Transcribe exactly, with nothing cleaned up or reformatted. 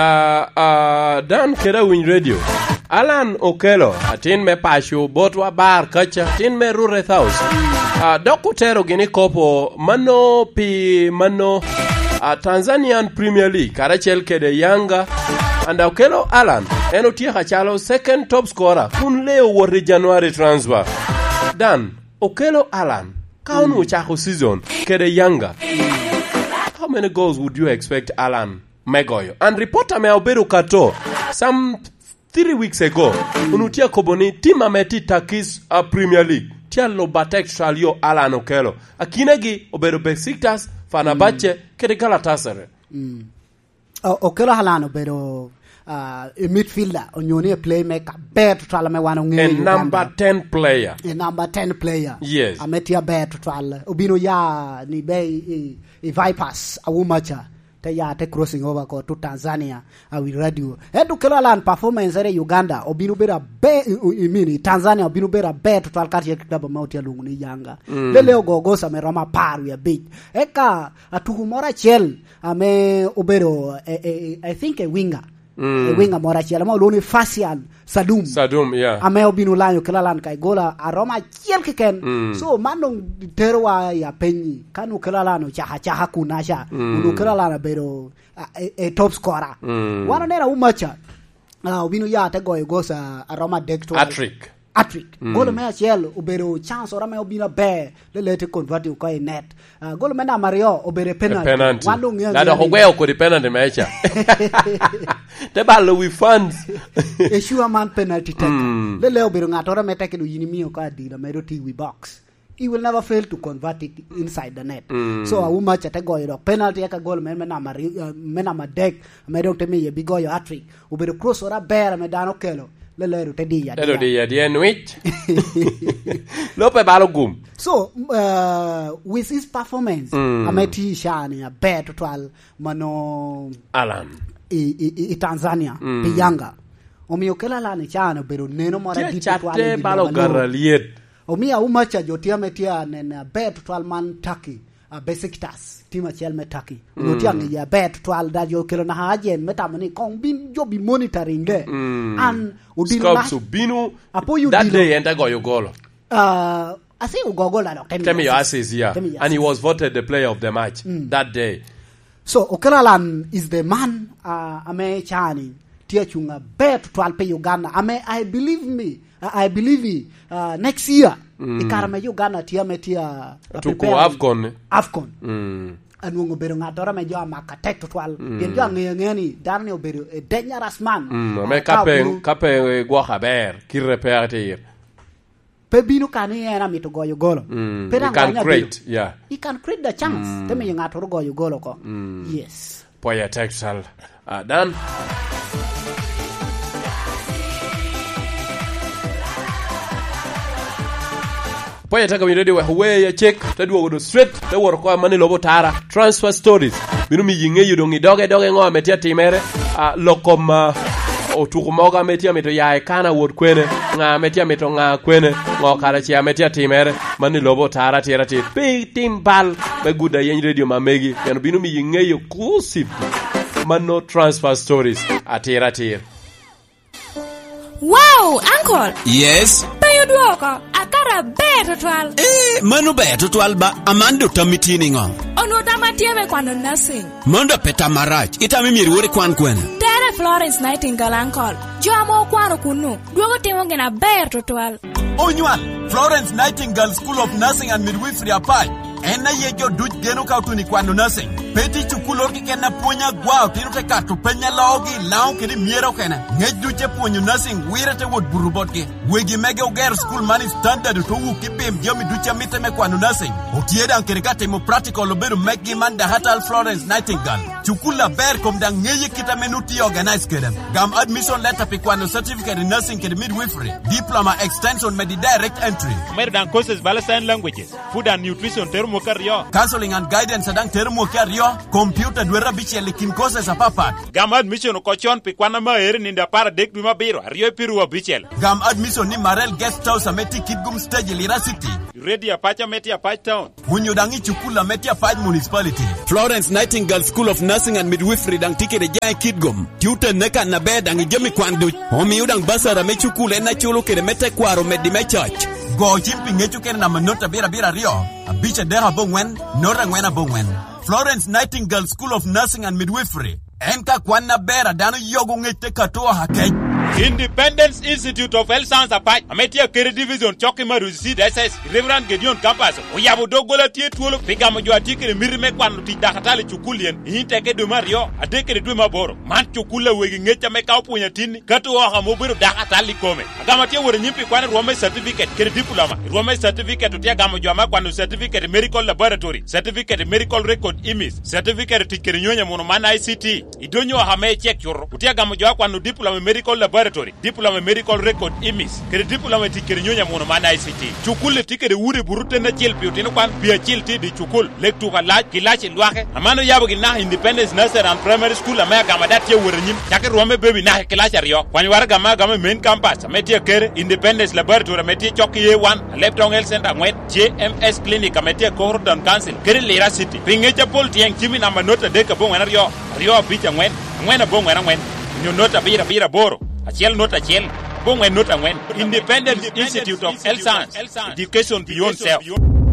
Ah, ah, Dan kede Awiny Radio. Alan Okello, atin me paco, botwa bar kaca, atin me Rureth House. Ah, dok otero gini kopo mano pi mano, ah, Tanzanian Premier League, karacel kede Yanga. And Okello Alan, en otyeko acalo second top scorer, kun lee owot i January transfer. Dan, Okello Alan, ka onwoŋo ocako season kede Yanga, how many goals would you expect Alan me goyo? And reporter ame obedo kato, some three weeks ago, onwoŋo tye akobo ni tim ame tye i Turkish, uh, Premier League tye alubo atek cal yo Alan Okello. Akinagi obedo Besiktas, Fenerbahce, kede Galatasaray. O-, Okello Alan obedo, ah, i midfielder, onyo ni i playmaker, ber tutwal ame wan oŋeyo A i Uganda. Number ten player. A number ten player. Yes. Ame tye aber tutwal. Obino ya ni be i, i, i Vipers, Awumacha. Te ya te crossing over ko to Tanzania, Awiny Radio. Ento Okello Alan performance ere i Uganda, obino bedo aber, i, i, i mean, i Tanzania, obino bedo aber tutwal karacel ki club ame otye alwoŋo ni Yanga. Mm. Lele ogo gosa me romo apar wie abic. Eka atuku moro acel, ame obedo, eh, eh, I think a winger. Mm. A winger moro acel, ame olwoŋo ni Fasian Sadum. Sadum, yeah. Ame obino lanyo Okello Alan ka i gola aromo acel keken. Mm. So, man doŋ terowa i apenyi. Ka nu Okello Alan ocako acaka kun aca, mm, kun Okello Alan abedo, a, e, e top scorer. Mm. Wan oneno Awumacha, ah, obino ya te goyo gosa aromo adek twal. Hat-trick. Hat-trick. Mm. Golo me acel obedo chance oro ame obino aber, lele te convert oko i net. Ah, golo me namba aryo obedo e penalty. E penalty. Wan doŋ ŋeo. Na dok ogweo kodi penalty me ca. Te balo wi fans. E sure man penalty tek. Mm. Lele obedo ŋattoro ame tek, dok yin imiyo oko adila ame dok tye i wi box. He will never fail to convert it inside the net. Mm. So, Awumacha te goyo dok penalty, eka golo me, me namba aryo, eh, me namba adek, ame dok te miye bi goyo hat-trick. Obedo cross oro aber ame dano okelo, lelero te diyo adiya. Te diyo adiya, nwic. Lo pe balo gum. So, uh, with his performance, mm, ame tye i caa-ni aber tutwal mano Alan. I, i, i, i Tanzania, mm, pi Yanga. Omiyo Okello Alan i caa-ni obedo neno moro adit tutwal i wi lobo alur. Tye catte balo gara lyet. Omiyo Awumacha jo tye ame tye anene aber tutwal man Turkey. A, Besiktas, tim acel me Turkey. Onwoŋo tye aŋeye aber tutwal, da jo okelo naka ajen me tamo ni koŋ bin jo bi monitoring de. Mm. An odilo Scouts na-, obino apoyo that odilo. Day en te goyo golo. Ah, I think ogo gol dok te miyo assist, yeah. Te miyo assist. And he was voted the player of the match, mm, that day. So, Okello Alan is the man, ah, ame cani tye acuŋ aber tutwal pi Uganda. Ame, I believe me, I, I believe, uh, next year, mm, i kare me Uganda tye ame tye a, a tuko preparing AFCON. AFCON. Mm. Anwoŋo obedo ŋattoro ame jo amako atek tutwal. Mm. Pien jo aŋeyo aŋeya ni dano ni obedo a dangerous man. Mm, ame ah, ka ka pe, obino ka pe gwoko aber, kite pe atir. Pe bino ka ni en amito goyo golo. Mm, pe he daŋ can wanya create, bedo. Yeah. He can create the chance. Mm. Te miyo ŋattoro goyo golo oko. Mm. Yes. Pwoyo atek tutwal. Ah, Dan. Pwoyo atek, awinyo dede wek owe ya cek, te dwogo do straight, te woro kwa mani lobo tara. Transfer stories. Bino miyi ŋeyo doŋ i doge doge ŋo ame tye atimere. Ah, lok kom, ah, otuko mogo ame tye amito ya i Kana wot kwene. Ŋa ame tye amito ŋa kwene. Ŋo kara ce ame tye atimere. Mani lobo tara tira tir. Pe itim bal. Me gudo ayeny radio ma megi, pien obino miyi ŋeyo exclusive mano transfer stories atir atir. Wow, uncle! Yes? Pe odwoko, akara ber tutwal. Eh, mano ber tutwal ba, aman do tammi tye niŋo? Onwo tamma tye me kwano nursing. Mano da pe tam marac, itamo myero iwor ikwan kwene? Tere Florence Nightingale, uncle. Jo ame okwano kunnu, dwogo timo gin aber tutwal. Onywal, Florence Nightingale School of Nursing and Midwifery apac. En aye jo duc geno ka otuno i kwano nursing. Pe tye cukul oro keken a pwony agwa, otino te kato peny a loogi i Laŋo kede i Myero kene. Ŋec duc te pwonyo nursing wire te wot buto botgi. Wegi mege ogero cukul man i standard, oto wuk i pim jami duc a mitte me kwano nursing. Otye daŋ kede ka timo practical obedo megi man Dahatal Florence Nightingale. Cukul aber kom daŋ ŋeye kit ame nu tye organize kede. Gam admission letter pi kwano certificate in nursing kede midwifery, diploma extension medi direct entry. Omedo daŋ courses bala sign languages, food and nutrition tero mwaka aryo. Counseling and guidance daŋ tero mwaka aryo, computer dwete abicel i kin courses apapat. Gam admission oko con pi kwan ame aero i nino apar adek dwe me abiro, aryo i piru abicel. Gam admission ni Marel Guest House ame tye i Kitgum Stage i Lira City. Ready Apac ame tye Apac Town. Onyo daŋ i cukul ame tye Apac Municipality. Florence Nightingale School of Nursing and Midwifery daŋ tye kede jaŋ i Kitgum. Tye otenne kan aber daŋ i jami kwan duc. Omio daŋ basara me cukul en aculo kede me tekwaro meddi me coc. Go cim pi ŋec okene namba not abiro abiro aryo, abic adek aboŋwen, not angwen aboŋwen. Florence Nightingale School of Nursing and Midwifery. En ka kwan aber a dano yogo ŋec te kato oha kec. Independence Institute of Health Science Apac, ame tye Akere Division, cok i Maruzi Seed S S, i Reverend Gideon Campus, oyabo doggola tye twolo pi gamo jo a tye kede miti me kwano tic dakatali i cukul yen, i Inteke dwe me aryo, adek kede dwe me aboro. Man cukul a wegi ŋec ame ka opwonyo atinni, kato oha ame obedo dakatali i kome. Agamo atye wot anyim pi kwano rwom me certificate kede diploma. I rwom me certificate otye agamo jo ame akwano certificate i medical laboratory, certificate i medical record imis, certificate i tic kede nyonyo amuno man I C T. I donyo oha me icek cuto, otye agamo jo akwano diploma i medical laboratory, diploma i medical record imis, kede diploma i tic kede nyonyo amuno man I C T. Cukul-li tye kede udi buto ten acel pi otino kwan, pi acil tye i dye cukul, lek tuko alac, kilaci lwake. Aman oyabo gin naka Independence Nursery and Primary School ame agamo ada tye awot anyim, cako i rwom me baby naka i kilaci aryo. Kwany waraga ame agamo i main campus ame tye Akere, Independence Laboratory ame tye cok i A one, Alebtong Health Center angwen, J M S Clinic ame tye i Koro Town Council, kede Lira City. Pi ŋec apol tyeng cim i namba not adek aboŋwen aryo, aryo abic angwen, angwen aboŋwen angwen, onyo not abiro abiro aboro, acel not acel, aboŋwen not angwen. Independence Institute of Health Science, Education Beyond Self.